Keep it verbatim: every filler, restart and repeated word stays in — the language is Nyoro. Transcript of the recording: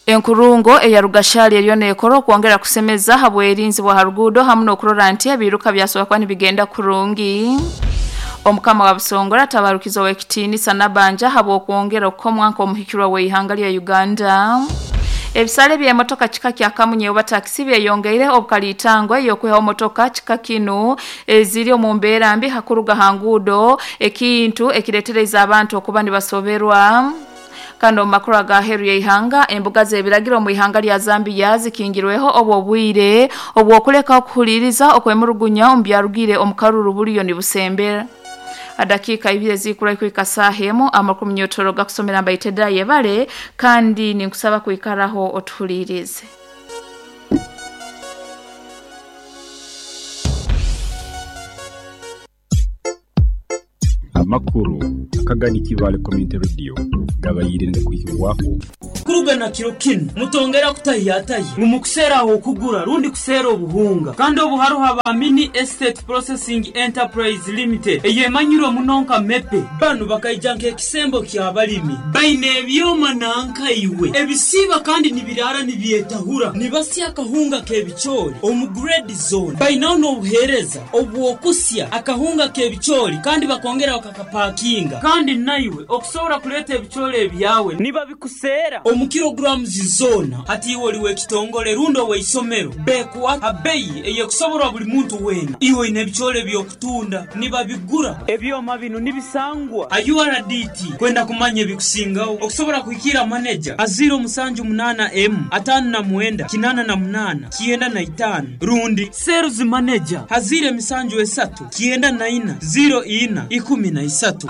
Enkurungo eya Rugashali eriyo neekora okwongera kusemeza habwerinzi bwa haruguudo hamu n'okurora nti ebiruka byasobola kuba nibigenda kurungi. Omukama wa Busongora atabarukiza ow'ekitiinisa Nabanja habw'okwongera okukomwa nk'omuhikirwa w'eihanga lya Uganda. Ebisale by'emotoka kika kya kamunye oba takisi byeyongeire obukaliitango ey'okwihaho motoka kika kinu eziri omu mbeera mbi hakuruga ha nguudo, ekintu ekireetereza abantu okuba nibasoberwa. Kandi omu makuru aga heeru y'eihanga, embuga z'ebiragiro omu ihanga lya Zambia zikingirweho obwo obwire obw'okuleka okuhuliiriza okwemurugunya omu byarugire omu karuru buriyo nibusembera. Adakiika ibiri ezikura kuhika saaha emu, amakuru munyotoro gakusomera mbaite yebale, kandi ninkusaba kwikaraho otuhuliirize. Amakuru akagani Kibale Community Radio gabayire ngakuhikibwako. Kuruga na kiro kinu mutongera kutahiyatahi ngu mukuseera aho okugura rundi kuseera obuhunga, kandi obu haruho aba Mini Estate Processing Enterprise Limited eyemanyirwe muno nka MEPE. Banu bakaija nk'ekisembo ky'abalimi, baine ebyoma nankaiwe ebisiiba kandi nibiraara nibyetahura, nibasya akahunga k'ebicoori omu grade zone. Bainaho n'obuheereza obw'okusya akahunga k'ebicoori kandi bakongera bakakapakinga, kandi naiwe okusobora kuleeta ebicoori ebyawe nibabikuseera omu kilograms zoona. Hati iwe oli w'ekitongole rundi ow'eisomero, bekuwa ha beyi eyekusoborwa buli muntu weena. Iwe oine ebicoori eby'okutunda, nibabigura. Ebyoma binu nibisangwa ha U R D T. Kwenda kumanya ebikusingaho, okusobora kuhikira maneja ha ziro musanju munaana emu ataano na mwenda kinaana na munaana kyenda na itaano, rundi sales manager ha ziro emisanju esatu kyenda na ina ziro ina ikumi na isatu.